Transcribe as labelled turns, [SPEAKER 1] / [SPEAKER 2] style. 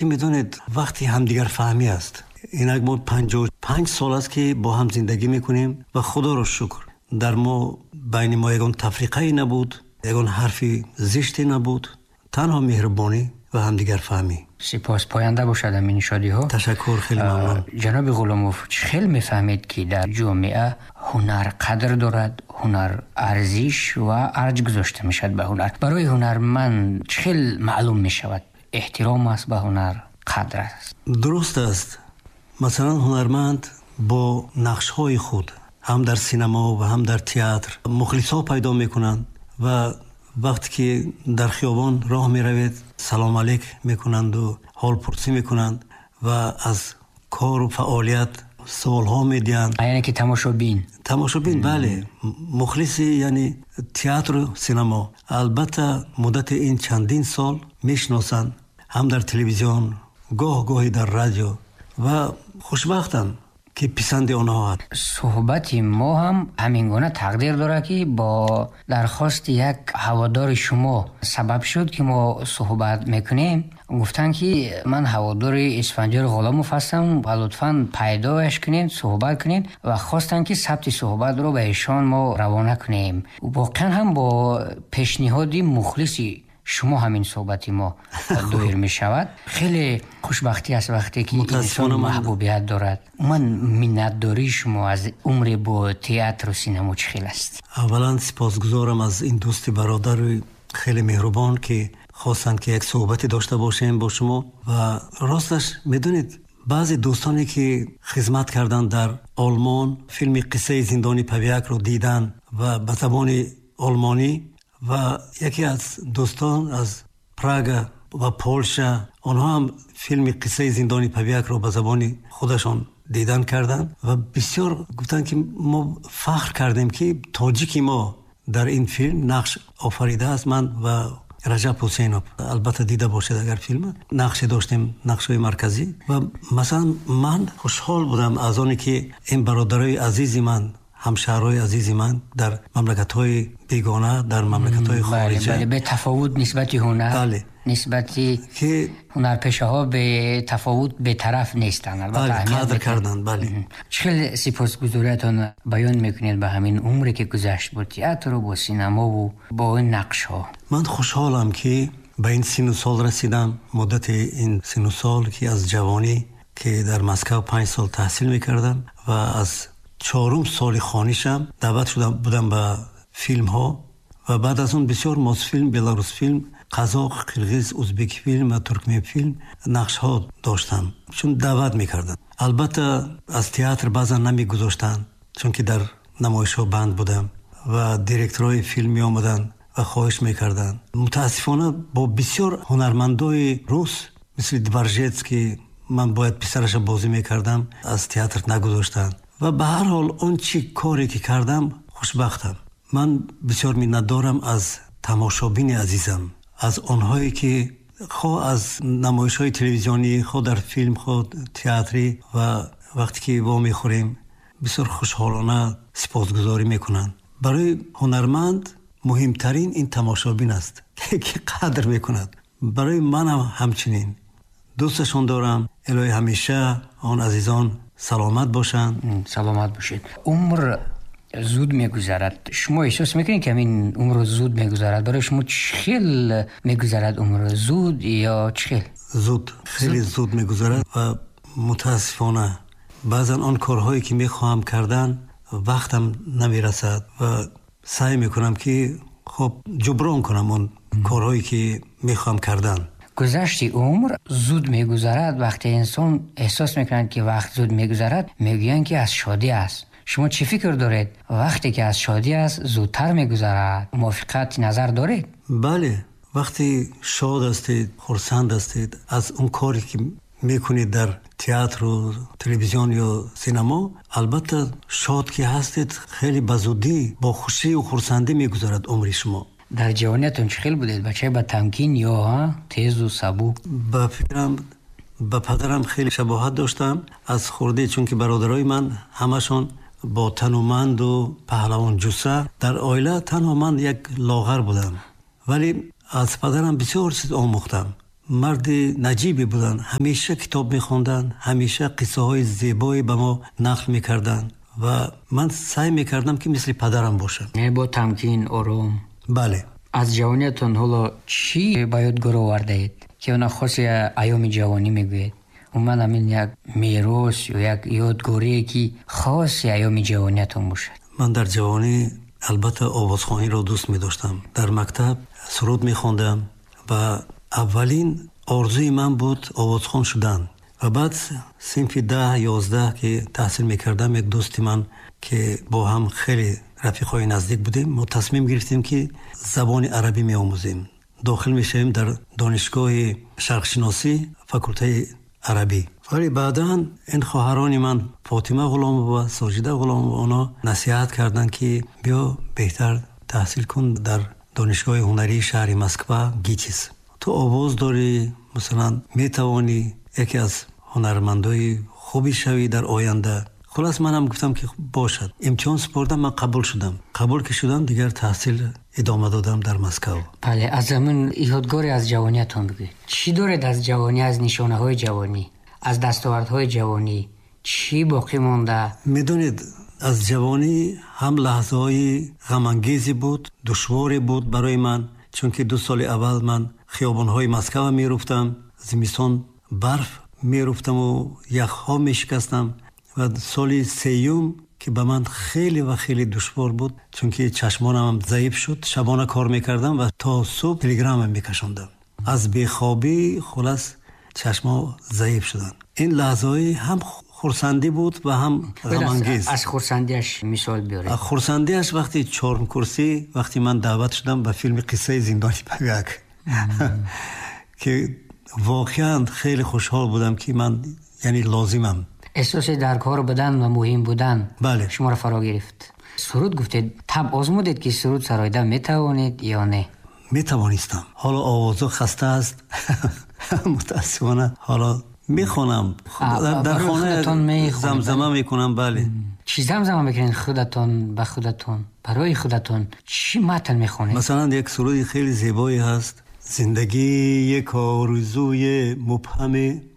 [SPEAKER 1] Медонед, вақти ҳамдигарфаҳмӣ аст. Инак мо 55 сол аст, ки бо ҳам зиндагӣ мекунем ва худоро шукр, дар мо байни мо ягон тафриқае набуд, ягон ҳарфи зиште набуд, танҳо меҳрубонӣ ва ҳамдигарфаҳмӣ.
[SPEAKER 2] Сипос, поянда бошад ҳамин шодиҳо.
[SPEAKER 1] Ташаккур, хеле мамнун.
[SPEAKER 2] Ҷаноби Ғуломов, чӣ хел мефаҳмед, ки дар ҷомеа ҳунар қадр дорад, ҳунар арзиш ва арҷ гузошта мешавад ба ҳунар? Барои ҳунарманд чӣ хел маълум мешавад эҳтиром аст ба ҳунар, қадр аст?
[SPEAKER 1] Дуруст аст. Масалан, ҳунарманд бо нақшҳои худ ҳам дар синамо ва ҳам дар театр мухлисҳо пайдо мекунанд ва вақте ки дар хиёбон роҳ меравед, салом алейк мекунанду ҳолпурсӣ мекунанд ва аз кору фаъолият суолҳо медиҳанд.
[SPEAKER 2] Яъне ки тамошобин.
[SPEAKER 1] Тамошобин, бале, мухлиси, яъне театру синамо. Албатта, муддати ин чандин сол мешиносанд, ҳам дар телевизион, гоҳ гоҳе дар радио, ва хушбахтам, ки писанди онҳо аст.
[SPEAKER 2] Суҳбати мо ҳам ҳамин гуна тақдир дорад, ки бо дархости як ҳаводори шумо сабаб шуд, ки мо суҳбат мекунем. Гуфтанд, ки ман ҳаводори Исфандиёр Ғуломов ҳастам ва лутфан пайдояш кунед, суҳбат кунед, ва хостанд, ки сабти суҳбатро ба эшон мо равона кунем. Воқеан ҳам бо пешниҳоди мухлиси шумо ҳамин суҳбати мо доир мешавад. Хеле хушбахтӣ аст, вақте ки инсон маҳбубият дорад. Ман миннатдории шумо аз умре бо театру синамо чӣ хел аст?
[SPEAKER 1] Аввалан, сипосгузорам аз ин дӯсти бародари хеле меҳрубон, ки хостанд, ки як суҳбате дошта бошем бо шумо. Ва росташ, медонед, баъзе дӯстоне, ки хизмат карданд дар Олмон, филми «Қиссаи зиндони Павиакро» диданд ва ба забони олмонӣ, ва яке аз дӯстон аз Прага ва Полша, онҳо ҳам филми «Қиссаи зиндони Павиакро» ба забони худашон дидан карданд ва бисёр гуфтанд, ки мо фахр кардем, ки тоҷики мо дар ин филм нақш офаридааст. Ман ва Раҷаб Ҳусейнов, албатта, дида бошед агар филма, нақше доштем, нақшҳои марказӣ. Ва масалан, ман хушҳол будам аз оне, ки ин бародарои азизи ман, ҳамшаҳрҳои азизи ман дар мамлакатҳои бегона, дар мамлакатҳои хориҷа
[SPEAKER 2] бетафовут нисбати ҳунар, нисбати
[SPEAKER 1] ки
[SPEAKER 2] ҳунарпешаҳо бетафовут, бетараф нестанд.
[SPEAKER 1] Қадр карданд, бале.
[SPEAKER 2] Чӣ хел сипосгузориятон баён мекунед ба ҳамин умре, ки гузашт бо театру бо синамову бо ин нақшҳо?
[SPEAKER 1] Ман хушҳолам, ки ба ин сину сол расидам. Муддати ин сину сол, ки аз ҷавонӣ, ки дар Москав 5 сол таҳсил мекардам ва аз чорум соли хонишам даъват шуда будам ба филмҳо, ва баъд аз он бисёр Мосфилм, Беларусфилм, қазоқ, қирғиз, узбекфилм ва туркменфилм нақшҳо доштам, чун даъват мекарданд. Албатта, аз театр баъзан намегузоштанд, чунки дар намоишҳо банд будам ва директорҳои филм меомаданд ва хоҳиш мекарданд. Мутаассифона, бо бисёр ҳунармандои рус, мисли Дворжетский, ман бояд писараша бозӣ мекардам, аз театр нагузоштанд. Ва ба ҳар ҳол, он чӣ коре ки кардам, хушбахтам. Ман бисёр миннатдорам аз тамошобини азизам, аз онҳое, ки хоҳ аз намоишҳои телевизионӣ, хоҳ дар филм, хоҳ театрӣ, ва вақте ки вомехӯрем, бисёр хушҳолона сипосгузорӣ мекунанд. Барои ҳунарманд муҳимтарин ин тамошобин аст, ки қадр мекунад. Барои манам ҳамчунин. Дӯсташон дорам. Илоҳӣ, ҳамеша он азизон саломат бошанд.
[SPEAKER 2] Саломат бошед. Умр зуд мегузарад. Шумо эҳсос мекунед, ки ҳамин умр зуд мегузарад? Барои шумо чӣ хел мегузарад умр, зуд ё чӣ хел?
[SPEAKER 1] Зуд, хеле зуд мегузарад ва мутаассифона, баъзан он корҳое, ки мехоҳам кардан, вақтам намерасад ва саъй мекунам, ки хуб ҷуброн кунам он корҳое, ки мехоҳам кардан.
[SPEAKER 2] Гузашти умр зуд мегузарад. Вақте инсон эҳсос мекунад, ки вақт зуд мегузарад, мегӯянд, ки аз шодӣ аст. Шумо чӣ фикр доред? Вақте ки аз шодӣ аст, зудтар мегузарад, мувофиқат назар доред?
[SPEAKER 1] Бале, вақте шод ҳастед, хурсанд ҳастед аз он коре, ки мекунед дар театру телевизион ё синамо, албатта, шод ки ҳастед, хеле ба зудӣ, бо хушию хурсандӣ мегузарад умри шумо.
[SPEAKER 2] Дар ҷавониятон чӣ хел будед? Бачаи ба тамкин ё тезу сабук?
[SPEAKER 1] Ба фикрам, ба падарам хеле шабоҳат доштам аз хурдӣ, чунки бародарои ман ҳамашон бо тануманду паҳлавонҷусса, дар оила танҳо ман як лоғар будам, вале аз падарам бисёр чиз омӯхтам. Марди наҷибе буданд, ҳамеша китоб мехонданд, ҳамеша қиссаҳои зебое ба мо нақл мекарданд ва ман саъй мекардам, ки мисли падарам бошам.
[SPEAKER 2] Яъне бо тамкин, ором.
[SPEAKER 1] Бале.
[SPEAKER 2] Аз ҷавониятон ҳоло чӣ ба ёдгор овардаед, ки она хоси айёми ҷавонӣ мегӯед? Умуман, ҳамин як мерос ё як ёдгорие, ки хоси айёми ҷавониятон бошад.
[SPEAKER 1] Ман дар ҷавонӣ албатта овозхониро дӯст медоштам. Дар мактаб суруд мехондам ва аввалин орзуи ман буд овозхон шудан. Ва баъд синфи 10, 11 ки таҳсил мекардам, як дӯсти ман, ки бо ҳам хеле рафиқҳои наздик будем, мо тасмим гирифтем, ки забони арабӣ меомӯзем, дохил мешавем дар донишгоҳи шарқшиносӣ, факултаи арабӣ. Вале баъдан ин хоҳарони ман, Фотима Ғуломова, Соҷида Ғуломова, онҳо насиҳат карданд, ки биё, беҳтар таҳсил кун дар донишгоҳи ҳунарии шаҳри Москва, ГИТИС. Ту овоз дорӣ, масалан, метавонӣ яке аз ҳунармандои хубе шавӣ дар оянда. Хулас, манам гуфтам, ки бошад. Имтиҳон супордам, ман қабул шудам. Қабул ки шудам, дигар таҳсил идома додам дар Москав.
[SPEAKER 2] Бале, аз ҳамин ёдгоре аз ҷавониятон бигӯед. Чӣ доред аз ҷавонӣ, аз нишонаҳои ҷавонӣ, аз дастовардҳои ҷавонӣ чӣ боқӣ монда?
[SPEAKER 1] Медонед, аз ҷавонӣ ҳам лаҳзаҳои ғамангезе буд, душворе буд барои ман, чунки 2 соли аввал ман хиёбонҳои Москва меруфтам, зимистон барф меруфтаму яхҳо мешикастам. Ва соли сеюм, ки ба ман хеле ва хеле душвор буд, чунки чашмонам заиф шуд, шабона кор мекардам ва то субҳ телеграмма мекашондам аз бехобӣ. Хулас, чашмо заиф шуданд. Ин лаҳзаҳои ҳам хурсандӣ буд ва ҳам ғамангез.
[SPEAKER 2] Аз хурсандиаш мисол биёред.
[SPEAKER 1] Хурсандиаш вақти чорум курсӣ, вақти ман даъват шудам ба филми «Қиссаи зиндони Пагак», ки воқеан хеле хушҳол будам, ки ман яъне лозимам.
[SPEAKER 2] Эҳсоси дар кор будан ва муҳим будан шуморо фаро гирифт. Суруд гуфтед, таб озмудед, ки суруд сароида метавонед ё не?
[SPEAKER 1] Метавонистам. Ҳоло овозо хаста аст, мутаассифона. Ҳоло мехонам дар хона, замзама мекунам, бале.
[SPEAKER 2] Чӣ замзама мекунед худатон ба худатон, барои худатон чӣ матн мехонед?
[SPEAKER 1] Масалан, як суруди хеле зебое ҳаст: «Зиндагӣ як орзуи мубҳаме».